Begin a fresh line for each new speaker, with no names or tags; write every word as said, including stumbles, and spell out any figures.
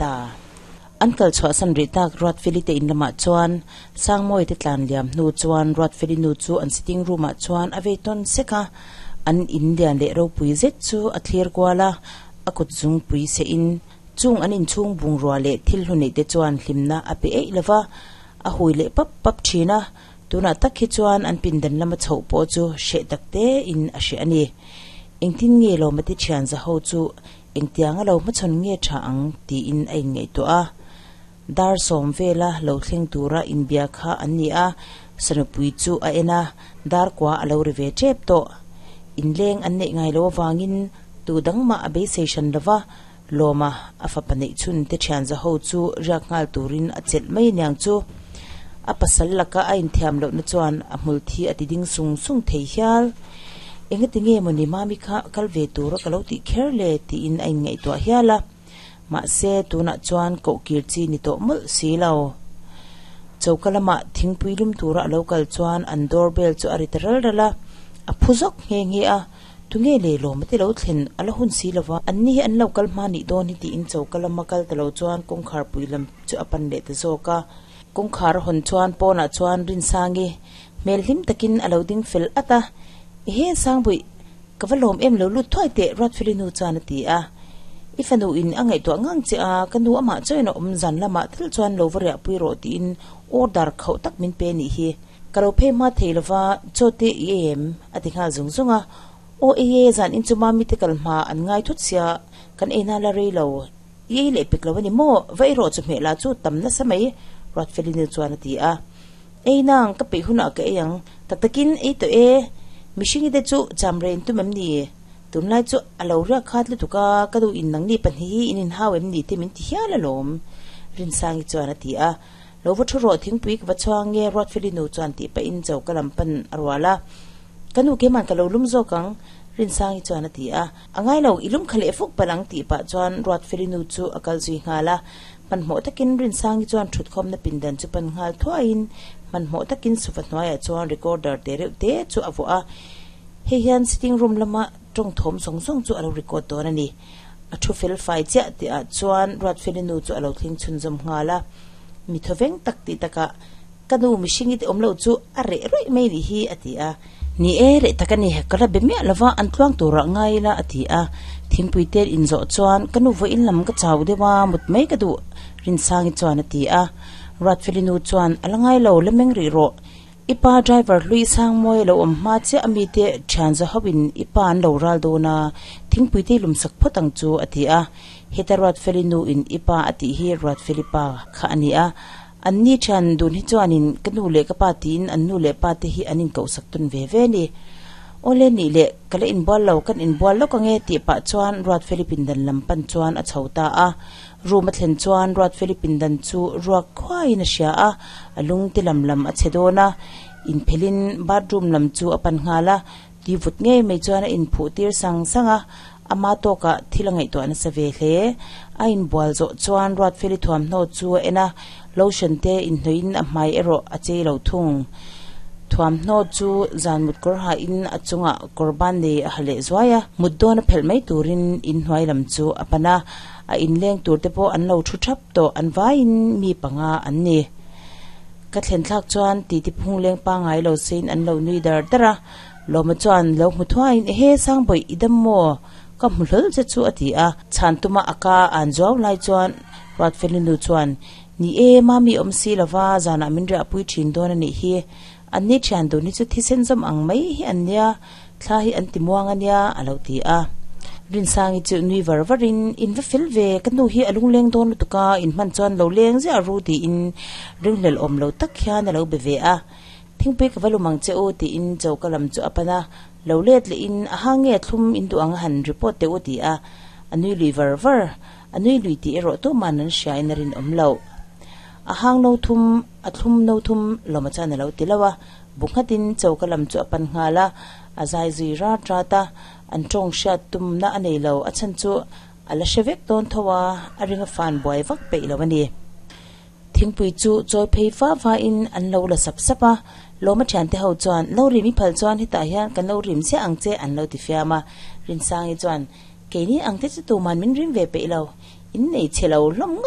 ta. An kal chhuahsan rih tak Ruatfeli te in lamah chuan Sangmawi te tlan liam hnu chuan Ruatfeli nu chu an sitting room ah chuan a vei tawn sek a, an in lian leh ropui zet chu a thlir kual a, a kut zungpui seh in chung an inchhung bungrua leh thil hlu neih te chuan hlimna a pe eih lova, a hui leh pap pap thin a, tunah tak hi chuan an pindan lama chhoh pawh chu hreh tak te in a hreh a ni. Engtin nge lawma te thian za ho chu engtianga lo hmachhawn nge tha ang tiin a inngaihtuah a. Dar sawm vela lo thleng tura inbia kha an ni a, sanupui chu a en a, dar kua a lo ri ve tep tawh. Inleng an neih ngai lo avangin tu dang mah a beisei hran lova, lawma a fapa neih chhun te thian za ho chu riak nghal turin a chelh mai aniang chu. A pasal laka a inthiam lohna chuan a hmul thi a ti ding sung sung thei hial. Engati nge mawni mami kha kal ve tura ka lo tih kher le tiin a inngaihtuah hial a. Mahse tunah chuan koh kir chi ni tawh mawlh si lo. Choka lamah thingpui lum tura a lo kal chuan an doorbell chu a ri ta ral ral a, a phu zawk nghe nghe a. Tunge le lawm te lo thlen a la hun si lova, an ni hi an lo kal hma nih dawn hi tiin choka lama kal ta lo chuan kawngkhar pui lam chu a pan leh ta zawk a. Kawngkhar a hawn chuan pawnah chuan Rinsangi hmel hlim takin a lo ding fel at a, Ehe Sangbuih, ka va lawm em lo lut thuai teh Ruatfeli nu chuan a ti a. I fanu in a ngaihtuah ngang che a, ka nu amah chuan a awm zan lamah thil chuan lo va riahpui rawh tiin order khauh tak min pe nih hi. Ka lo phei hma thei lova, chaw te i ei em? A ti nghal zung zung a. Aw ei e, zan in chu mami te kal hma an ngai thut sia, kan ei na la rei lo. I ei leh pek lo a ni maw? Va ei rawh chu hmeh lah chu tam nasa mai, Ruatfeli nu chuan a ti a. Ei nang, ka peih hunah ka ei ang. Tak takin ei tawh e. Mihringi te chu cham rein tum em ni? Tunlai chu a lo riak khat lutuk a, ka duh in nangni pahnih hi in inhau em ni te min ti hial alawm, Rinsangi chuan a ti a. Lo va thu rawh thingpui ka va chhuang nge Ruatfeli nu chuan tih pahin choka lam pan a rual a. Ka nu keimah ka lo lum zawk ang, Rinsangi chuan a ti a. A ngai lo, i lum kha leh fuk palh ang tih pah chuan Ruatfeli nu chu a kal zui nghal a. Hmanhmawh takin Rinsangi chuan thutkhawmna pindan chu pan nghal thuaiin hmanhmawh takin sofa hnuaiah chuan recorder te reuh te chu a vuah a. Hei hian sitting room lama tawng thawm zawng zawng chu a lo record dawn a ni. A thu fel fai chiah tih ah chuan Ruatfeli nu chu a lo thleng chhunzawm nghal a. Mi thawveng tak tih takah ka nu mihring i ti awm lo chu a reh rawih mai nih hi a ti a. Ni e, reh tak a ni, ka la be miah lova an tluang turah ngai ila a ti a. Thingpui te inzawh chuan ka nu vawiin lam ka chau deuh a, mut mai ka duh Rinsangi chuan a ti a. Ruatfeli nu chuan a la ngai lo, la meng rih rawh. I pa driver hlui Sangmawi a lo awm hma chiah a mite thian za hoin i pa an lo ral dawn a, thingpui te lum sak phawt ang chu a ti a. Heta Ruatfeli nu in i pa a tih hi Ruatfeli pa kha a ni a. An ni thian dun hi chuanin ka nu leh ka pa tiin an nu leh pa te hi an inkauhsak tawn ve ve a ni. Awle nih leh ka la inbual lo, kan inbual lawk ange tih pah chuan Ruatfeli pindan lam pan chuan a chho ta a. Room a thlen chuan Ruatfeli pindan chu ruak khuaiin a hria a, a lung te lam lam a chhe dawn a. Inphelhin bathroom lam chu a pan nghal a, ti vut ngei mai chuan a inphuh tir sang sang a, ama tawkah thil a ngaihtuah nasa ve hle. A inbual zawh chuan Ruatfeli thuamhnaw chu a en a, lotion te inhnawhin a hmai erawh a chei lo thung. Thuamhnaw chu zan mut kawr hain a chungah kawr ban nei a ha leh zuai a, mut dawn a phelh mai turin inhnuai lam chu a pan a, a inleng tur te pawh an lo thu thap tawh, an vaiin mi panga an ni. Ka thlen thlak chuan titi phung leng pangngai lo sein an lo nui dar dar a, Lawma chuan lo hmu thuaiin ehe Sangbawih i dam maw? Ka hmu hlawl che chu a ti a, chhan tuma a ka an zuau lai chuan Ruatfeli nu chuan Ni e, mami awm si lova zanah min riahpui thin dawn a nih hi. An ni thian dun hi chu thisen zawm ang mai hi an nia, thla hi an ti muang a nia a lo ti a. Rinsangi chu nui var varin, In va fel ve, ka nu hi a lungleng dawn lutuk a, in hman chuan lo leng ziah ru tiin ringhlel awm lo tak hian a lo be ve a. Thingpui ka va lum ang che u tiin choka lam chu a pan a, lo let lehin a hang nge thlum in duh ang a han report teh u ti a, a nui lui var var. A nui lui tih erawh tuman an hria in a rinawm loh. A hang no thum, a thlum no thum lawma chuan a lo ti lo a, bu nghatin choka lam chu a pan nghal a, a zai zui rat rat a, an tawng hriat tumna a nei lo, a chhan chu a la hre vek dawn tho a, a ring a fan buai vak peih lo a ni. Thingpui chu chawi phei va va in an lo la sap sap a, Lawma thiante ho chuan lo rim i phal chuan hetah hian kan lo rim chiah ang che an lo ti fiam a, Rinsangi chuan Keini ang te chu tuman min rim ve peih lo, in nei chhe lo hlawm ngawt.